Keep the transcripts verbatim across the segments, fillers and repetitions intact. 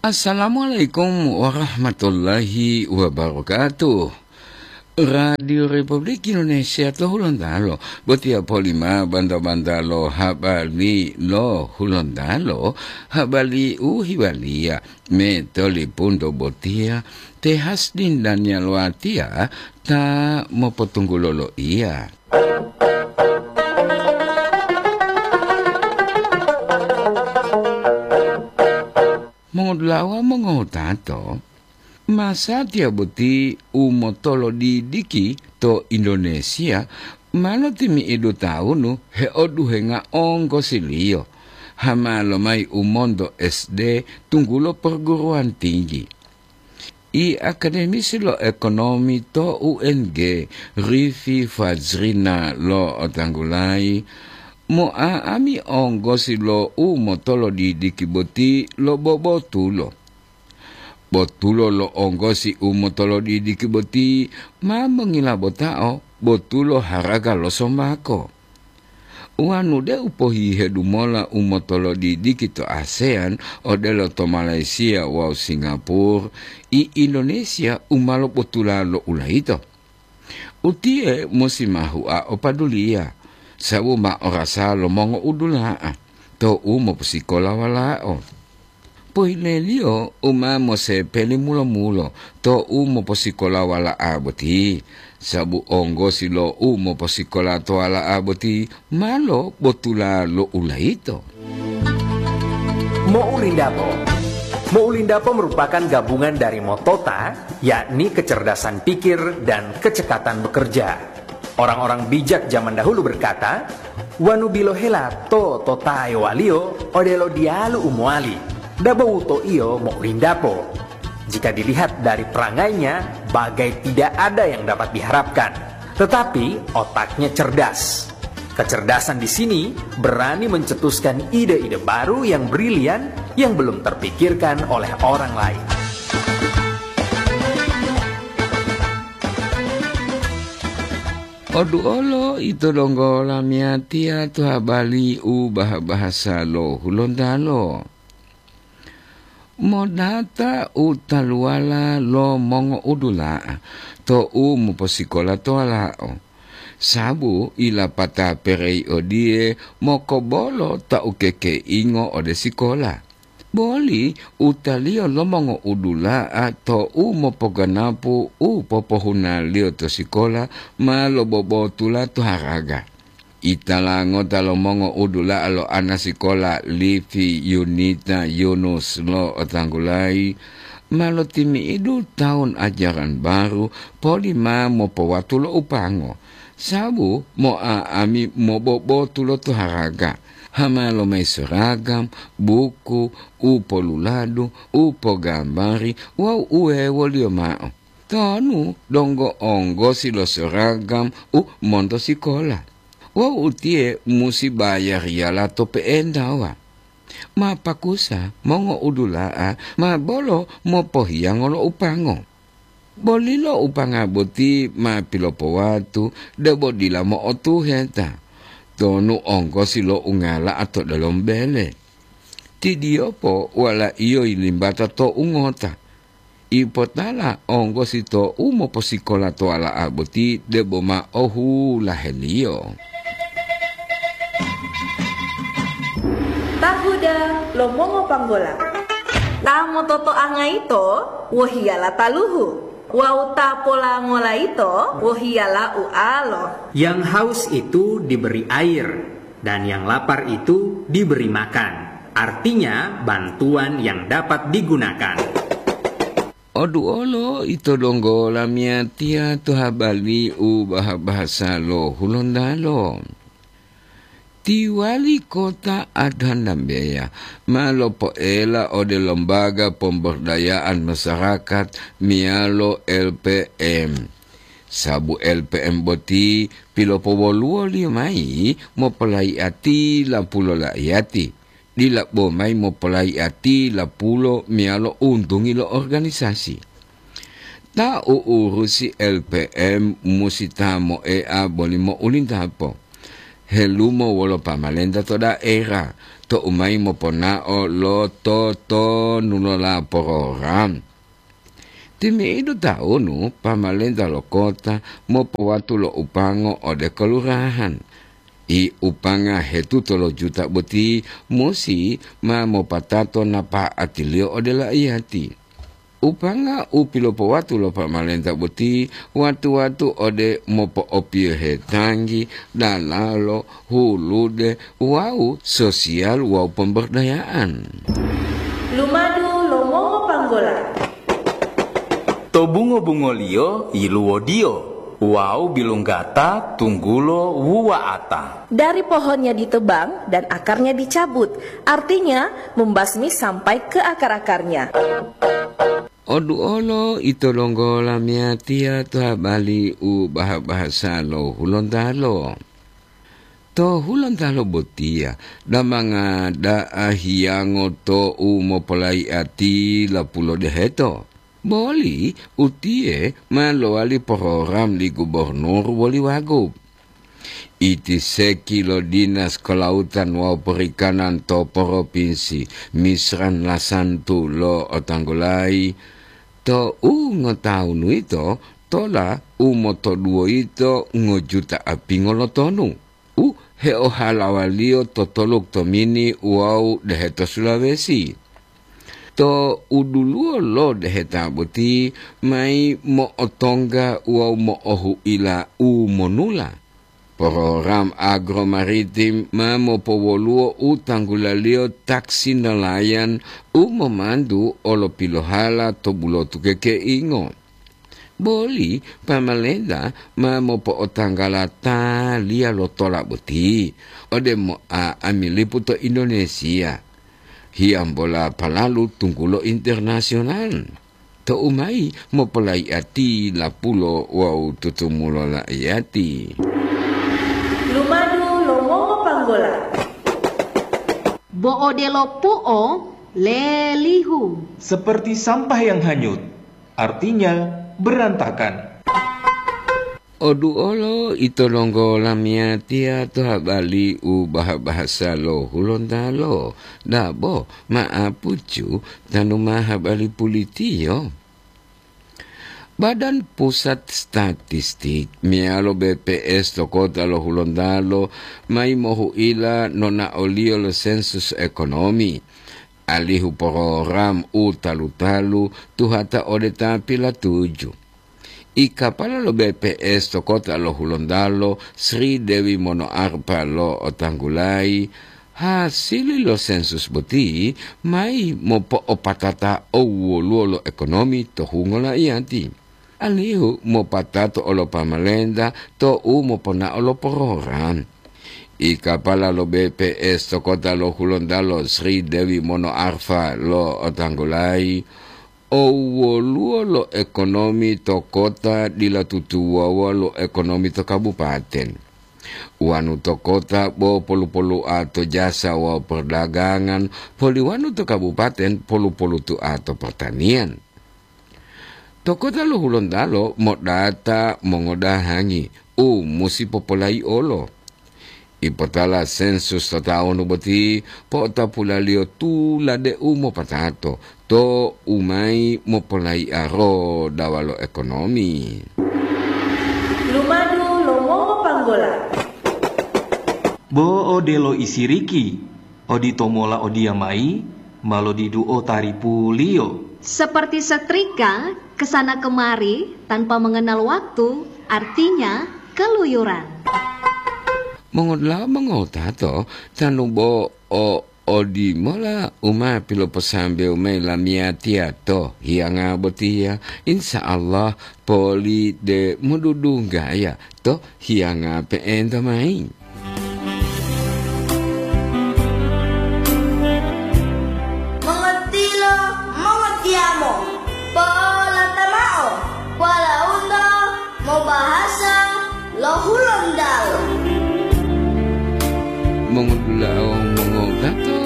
Assalamualaikum warahmatullahi wabarakatuh. Radio Republik Indonesia to Hulontalo, botiya polima banta-banta lo habari lo Hulontalo, habari u hiwaliya me tolipunto botiya, te Hasdin Daniel Watiya ta mopotunggulo lo iya. Mongodulawa mongowutato, masatiya boti u motolodidiki to Indonesia ma lotimi'idu tawunu heoduhenga onggosiliyo, hama lomayi u monto S D tunggulo perguruan tinggi. I akademisi lo ekonomi to U N G, Rifi Fajrina lo'otanggulayi, mo'a'ami onggosi lo u motolodidiki boti lo bobotulo. Botulo lo onggosi u motolodidiki boti ma mongilabotao botulo haraga lo somako. Wanu deu pohihedu mola u motolodidiki to ASEAN odelo to Malaysia wawu Singapura, i Indonesia u ma lobotula lo ulayito. Utiye musi ma hua opaduliya, sabu ma orasa lo mongo'udula'a to u moposikola walao. Pohileliyo u ma mosepeli mulo-mulo to u moposikola wala'a boti, sabu onggosi lo u moposikola to wala'a boti ma lobotula lo ulayito. Mo'ulindapo. Mo'ulindapo merupakan gabungan dari motota, yakni kecerdasan pikir dan kecekatan bekerja. Orang-orang bijak zaman dahulu berkata, "Wanu bilohela to totaewaliyo odelo diyalu u mowali, dabo wuto'iyo mo'ulindapo." Jika dilihat dari perangainya, bagai tidak ada yang dapat diharapkan. Tetapi otaknya cerdas. Kecerdasan di sini berani mencetuskan ide-ide baru yang brilian yang belum terpikirkan oleh orang lain. Oduolo ito donggo lamiyatiya to habari u bah-bahasa lo Hulontalo. Modata u taluwala lo mongo'udula'a to u moposikola to walao, sabu ilapata perei odiye mokobolo ta ukekeingo ode sikola. Boli utaliyo lo mongo'udula'a to u mopoganapu u popohunaliyo to sikola ma lobobotula to haraga. Itala ngota lo mongo'udula'a lo ana sikola Livi Yunita Yunus lo'otanggulayi ma lotimi'idu tawun ajaran baru poli ma mopowatu lo upango, sabu mo'a'ami mobobotu lo to haraga, hama lomayi seragam, buku, u poluladu, u pogambari wawu uwewoliyo ma'o. Tonu donggo onggosi lo seragam u monto sikola. Wawu utiye musi bayariyala to pe'entawa. Ma pakusa mongo'udula'a ma bolo mopohiyango lo upango. Bolilo upanga boti ma pilopowatu debo dila mo'otuheta, tonu onggosi lo ungala'a to delomo bele. Ti Diyopo walaiyo yilimbata to ungota. Ipotala onggosi to u moposikola to wala'a boti debo ma ohulaheliyo. Tahuda lo mongopanggola. Ta mototoanga yito wohiyala taluhu, wawu ta polangola yito wohiyala ualo. Yang haus itu diberi air, dan yang lapar itu diberi makan. Artinya, bantuan yang dapat digunakan. Oduolo ito donggo lamiyatiya to habari u bah-bahasa lo Hulontalo. Ti wali kota Adanambeya ma lopoela ode Lembaga Pemberdayaan Masyarakat meyalo L P M. Sabu L P M boti pilopowoluwoliyo mayi mopolayiati lapulo laiyati, dila bo mayi mopolayiati lapulo meyalo untungi lo organisasi. Ta u'urusi L P M musi ta moea boli mo'ulintapo. helumo wolo pamalenta to daera, to'u mayi moponao lo totonulola porogram. Timi'idu taunu, pamalenta lo kota mopowatu lo upango ode kelurahan. I upanga hetuto lo juta boti musi ma mopatato napa'atiliyo ode laiyati. Upanga u pilopowatu lo pamalenta boti watu-watu ode mopo'opiyohe tanggi, dalalo, hulude, wawu sosial wawu pemberdayaan. Lumadu lo mongopanggola. To bungo-bungoliyo yiluwodiyo wawu bilunggata tunggulo wuwa'ata. Dari pohonnya ditebang dan akarnya dicabut, artinya membasmi sampai ke akar-akarnya. Oduolo ito longgo lamiyatiya to habali u baha-bahasa lo Hulontalo. To Hulontalo botiya, damanga da'a hiyango to u mopolaiati lapulo deheto. Boli utiye ma lowali porogram li gubernur woli wagub. Iti seki lo Dinas Kelautan wawu Perikanan to Propinsi Misran Lasantu lo Otanggulayi, to u ngotawunu yito tola u motoduwo yito ngojuta apingo lo tonu, u heohalawaliyo to toluk to Mini wawu deheto Sulawesi. To uduluwo lo deheta boti mayi mo'otongga wawu mo'ohu'ila u monula. Program agromaritim ma mopowoluwo u tanggulaliyo taksi nelayan u momantu olo pilohala to bulotu kekeingo. Boli pamalenta ma mopo'otanggala taliya lo tola boti ode mo'a'amilipu to Indonesia, hiyambola palalu tunggulo internasional. To'u mayi mopolaiati lapulo wawu tutumulo laiyati. Lumadu lo mongopanggola. Bo odelo pu'o lelihu. Seperti sampah yang hanyut, artinya berantakan. Oduolo ito longgo lamiyatiya to habali u baha-bahasa lo Hulontalo, dabo ma'apucu tanu ma habali pulitiyo. Badan Pusat Statistik meyalo B P S to kota lo Hulontalo mayi mohu'ila nonaoliyo lo sensus ekonomi, alihu program u talu-talu tuhata ode ta pilatuju. I kapala lo B P S to kota lo Hulontalo, Sri Dewi Monoarfa lo Otanggulayi, hasili lo sensus boti mayi mopo'opatata owoluwo lo ekonomi to hungo laiyati, alihu mopatato olo pamalenta to u moponao lo program. I kapala lo B P S to kota lo Hulontalo, Sri Dewi Monoarfa lo Otanggulayi, owoluwo lo ekonomi to kota dila tutuwawa lo ekonomi to kabupaten. Wanu to kota bo polu-polu'a to jasa wawu perdagangan, poli wanu to kabupaten polu-polutu'a to pertanian. To kota lo Hulontalo modata mongodahangi u musi popolayi'olo. Ipotala sensus to tawunu boti po'otapulaliyo tulade u mopatato to u mayi mopolayi'a rodawa lo ekonomi. Lumadu lo mongopanggola. Bo odelo isiriki, odito mola odiyamayi ma lodiduo taripuliyo. Seperti setrika kesana kemari tanpa mengenal waktu, artinya keluyuran. Mongodula'a mongotato, tanu bo o odimola u ma piloposambewu mayi lamiyatiya to hiyanga botiya, insya Allah poli de modudunggaya to hiyanga pe'enta mayi. Mongotilo, mongotiyamo, po'olata mao walaundo mobahasa lo Hulontalo. Mongodula'a, mongotato,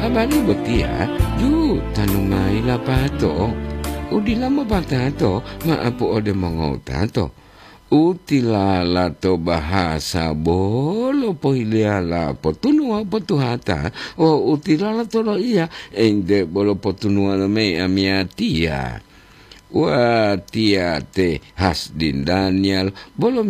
habari botiya ju tanu mayi lapato. Udila mopatato ma'apu ode mongotato. Utilala to bahasa bolo pohiliyala potunuwa potuhata, wawu utilala to loiya ente bolo potunuwa lo mei amiyatiya. Watiya te Hasdin Daniel bolo